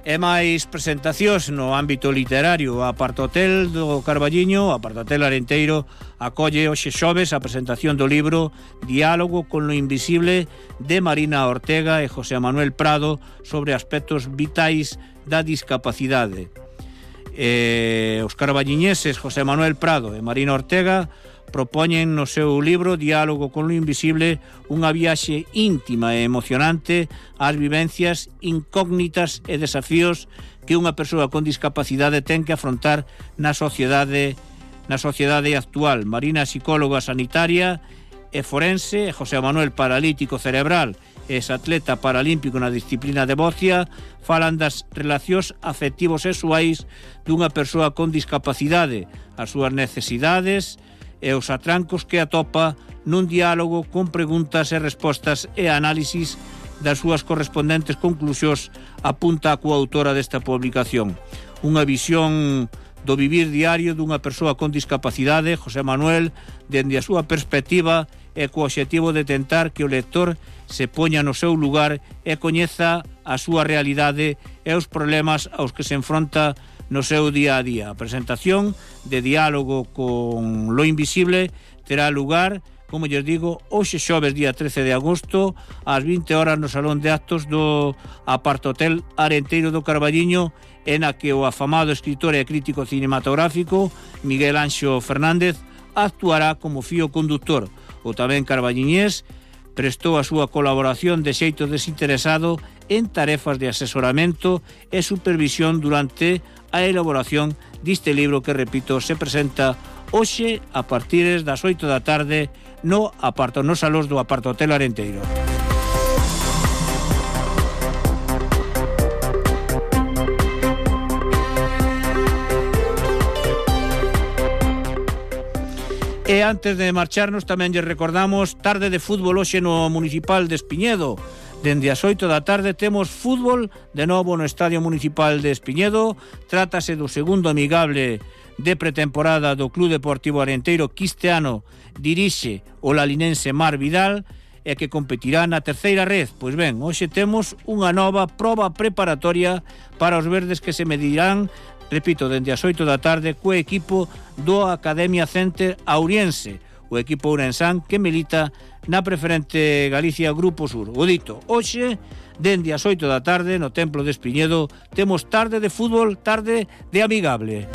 E máis presentacións no ámbito literario. A Apartotel do Carballiño, a Apartotel Arenteiro, acolle hoxe xoves a presentación do libro Diálogo con lo invisible de Marina Ortega e José Manuel Prado sobre aspectos vitais da discapacidade. Os carballiñeses José Manuel Prado e Marina Ortega propoñen no seu libro Diálogo con lo invisible unha viaxe íntima e emocionante ás vivencias incógnitas e desafíos que unha persoa con discapacidade ten que afrontar na sociedade actual. Marina, psicóloga sanitaria e forense, e José Manuel, paralítico cerebral e ex-atleta paralímpico na disciplina de bocia, falan das relacións afectivos sexuais dunha persoa con discapacidade, as súas necesidades e os atrancos que atopa nun diálogo con preguntas e respostas e análisis das súas correspondentes conclusións, apunta a coautora desta publicación. Unha visión do vivir diario dunha persoa con discapacidade, José Manuel, dende a súa perspectiva e co obxectivo de tentar que o lector se poña no seu lugar e coñeza a súa realidade e os problemas aos que se enfronta no seu día a día. A presentación de Diálogo con lo invisible terá lugar, como lles digo, hoxe xoves día 13 de agosto ás 20 horas no Salón de Actos do Apartotel Arenteiro do Carballiño, en a que o afamado escritor e crítico cinematográfico Miguel Anxo Fernández actuará como fío conductor. O tamén carballiñés prestou a súa colaboración de xeito desinteresado en tarefas de asesoramento e supervisión durante a elaboración deste libro que, repito, se presenta hoxe a partir das 8 da tarde nos salóns do Apartotel Arenteiro. E antes de marcharnos tamén lle recordamos tarde de fútbol hoxe no Municipal de Espiñedo. Dende as 8 da tarde temos fútbol de novo no Estadio Municipal de Espiñedo. Trátase do segundo amigable de pretemporada do Club Deportivo Arenteiro, que este ano dirixe o lalinense Mar Vidal e que competirá na terceira red. Pois ben, hoxe temos unha nova proba preparatoria para os verdes que se medirán, repito, dende as 8 da tarde co equipo do Academia Center Auriense, o equipo ourensán que milita na preferente Galicia Grupo Sur. O dito, hoxe, dende as 8 da tarde, no Templo de Espiñedo, temos tarde de fútbol, tarde de amigable.